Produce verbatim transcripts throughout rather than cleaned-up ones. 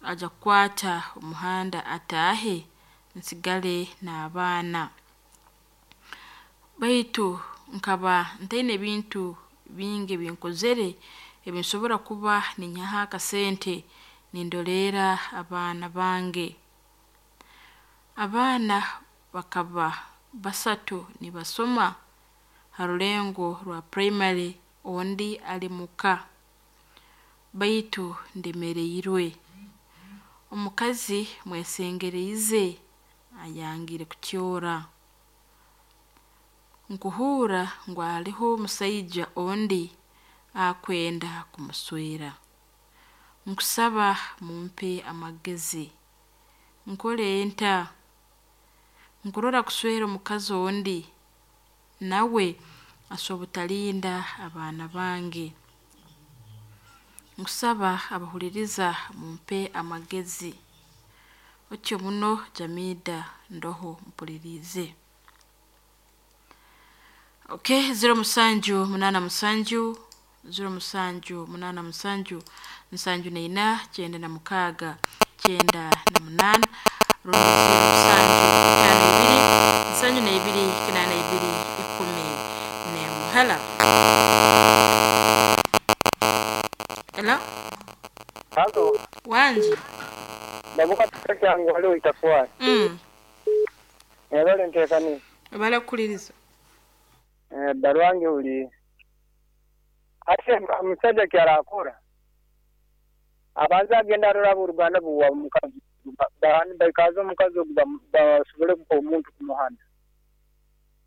Aja kukwata omuhanda ataahe, nsigale n'abaana. Baitu nkaba ntaine bintu bingi ebinkozere ebinsobora kuba ninyihaho akasente nindoleera abaana bange. Abaana bakaba basatu nibasoma ha rulengo rwa primary, ondi ali muka, baitu ndemeriirwe. Omukazi mwesengeriize ayangire kutyora. Nkuhuura ngu haroho omusaija ondi akwenda kumuswera. Nkusaba mumpe amagezi. Nkole nta? Nkurora kuswera omukazi ondi nawe asobora obutalinda abaana bange. Nkusaba abahuliiriza mumpe amagezi. Otyo muno Jamidah ndoho mpuliriize. Okay, zero musanju munaana musanju, zero musanju munaana musanju, nsanju naina, kyenda na mukaaga, kyenda na munaana, rundi zero musanju itaano ibiri, nsanju naibiri, kinaana ibiri, ikumi n'emu. Hello. Hello. Halo, Wangi. Babuka kyangu waliwo itakuwa. Mm. Ebale ntekani. Obale kukuliriza. Eh, barwange uli. Ate omusajja kyarakora. Abanza agenda arora abooluganda buwa omukazi. Bahani baikaza omukazi ogu basobole kuha omuntu kumuhana.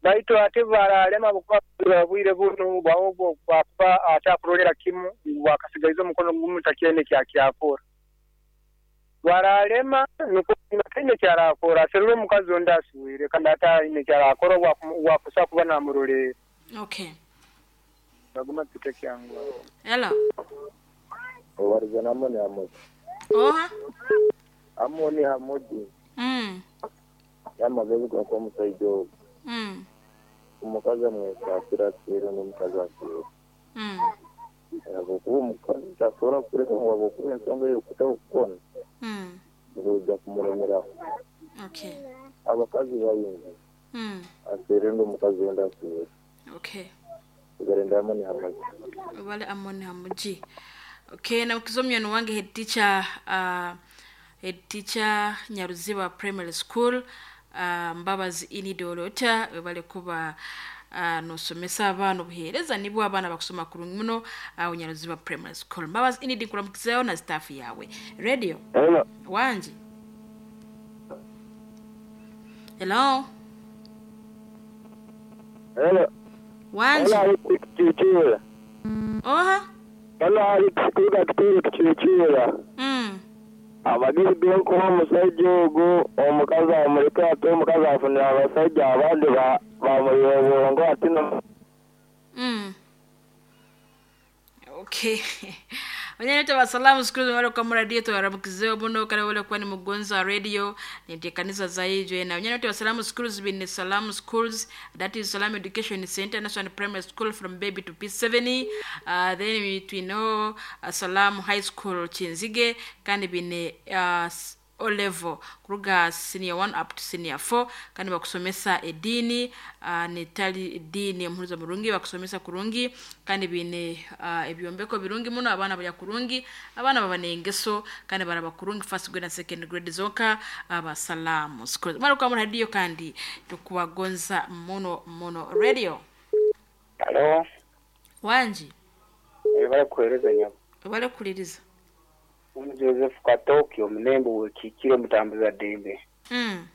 Baitu ate baralema bukuba bwire bunu bwaobwo bwakuba atakurolera kimu bwakasigaiza omukono gumu takyene kyakyakora. Baralema nukwo taine kyarakora aserure omukazi ondi aswire kandi ataine kyarakora wakusa kuba namurolera. Okay. Baguma tute kyangu. Hello. Obariza n'Amoni Hamoji. Oha. Amoni Hamoji Mm. y'amagezi g'okuba omusaija ogu. Mm. Omukazi amwesasira aswire n'omukazi aswire. Mm. Habwokuba omukazi tasobora kuleka ngu habwokuba ensonga ey'okutaho kukona Mm. ngu kumuremeraho. Okay. Abakazi baingi Mm. aswire ndi omukazi ondi aswire. Okay. Tugarenda Amoni Hamoji. Wale Amoni Hamuji. Okay, na ukizomya wange head teacher uh, head teacher Nyaruziba Primary School uh, Mbabazi ini Dorota webale kuba uh, nosomesa abaana obuheereza nibwo abaana bakusoma kurungi muno awo Nyaruziba Primary School. Mbabazi ini nkuramukizeyo na staff yawe. Radio Hello. wangi. Hello. Hello. Wangi. Hello, kuchichura. Oha. Hello, kuga kitiri kuchichura. Mm. Amagezi g'okuba omusajja ogu omukazi amuleke ate omukazi afunira abasajja abandi ba- bamuyiwa obwongo ate no Mm. Okay. Wanyanyota wa salamu siku wale kwa muradio tuwaramukizeyo muno kale wale kuwa ni mugonzo wa radio ni kanisa za ijwe na wanyanyota wa salamu schools bin Salamu Schools, that is Salamu Education Center National Primary School from baby to P seven, uh, then we know uh, Salamu High School Chinzige kandi bine uh, O level kuruga senior one up to senior four kandi bakusomesa edini uh, netali edini omuhuruza murungi bakusomesa kurungi kandi bine uh, ebyombeko birungi muno abaana balya kurungi abaana baba n'engeso kandi baraba kurungi first grade na second grade zonka abasalamu schools mara kwa radio kandi tukubagonza muno muno radio. Halo, Wangi. ebale kuhereza nyabo. Obale kuliriza. Omu Joseph Katoki omunembe wekikire omutambuza ddembe. Mm.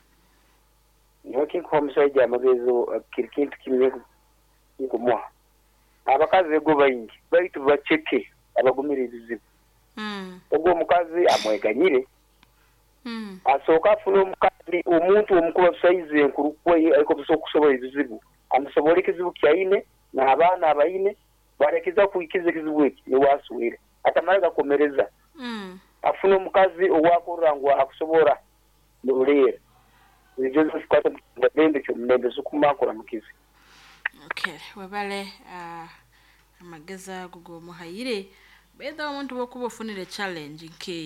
Niwe kinkuha omusajja amagezi kiri kintu kimwe nkumuha. Abakazi ego baingi baitu baceke abagumira ebizibu. Mm. Ogwo omukazi amweganyire Mm. asooka afune omukazi omuntu omukuba saizi enkuru kwe ariko okusobola ebizibu amusobole ekizibu kyaine n'abaana abaine barekeza kuikiza ekizibu eki niwaswire atamara gakomereza. Mm. Afune omukazi owakorra ngu akusobora muruleera. Joseph Kato ndembe kyomulembe sukuma mukizi. Okay, webale uh, amagezi ago gomuhaire betha omuntu wokuba ofunire challenge nke